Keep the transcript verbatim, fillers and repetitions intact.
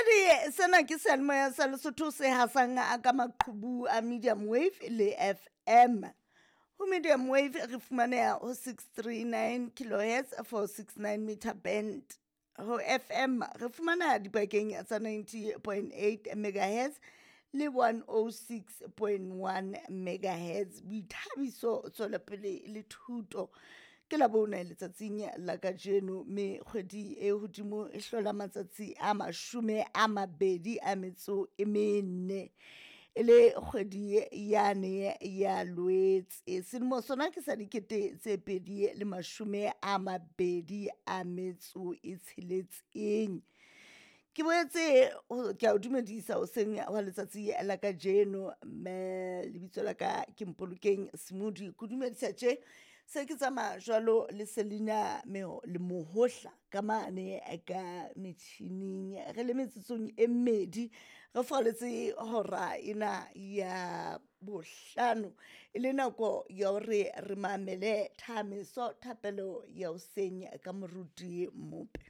Mamedi, sena ke seyalemoya sa Lesotho se hasang ka maqhubu a medium wave le F M. Ho medium wave re fumaneha ho six three nine kilohertz four six nine meter band. Ho F M re fumana dibakeng tsa ninety point eight megahertz le one oh six point one megahertz. Boithabiso, tswelopele le thuto ke la bone letsatsing la kajeno, mme kgwedi e hodimo e hlola matsatsi a mashome a mabedi a metso e mene, e le kgwedi yane ya Loetse. Selemo sona ke sa dikete tse pedi le mashome a mabedi a metso e tsheletseng. Ke boetse ke a o dumedisa hoseng wa letsatsi la kajeno, mme lebitso la ka ke Mpolokeng Smodi. Ke dumedisa tje se ke tsamaya jwalo le Selina le Mohohla ka mane ka metjhining. Re le metsotsong e mmedi re falletse hora ena ya bohlano, e le nako ya hore re mamele thameso thapelo ya hoseng ka moruti Mope.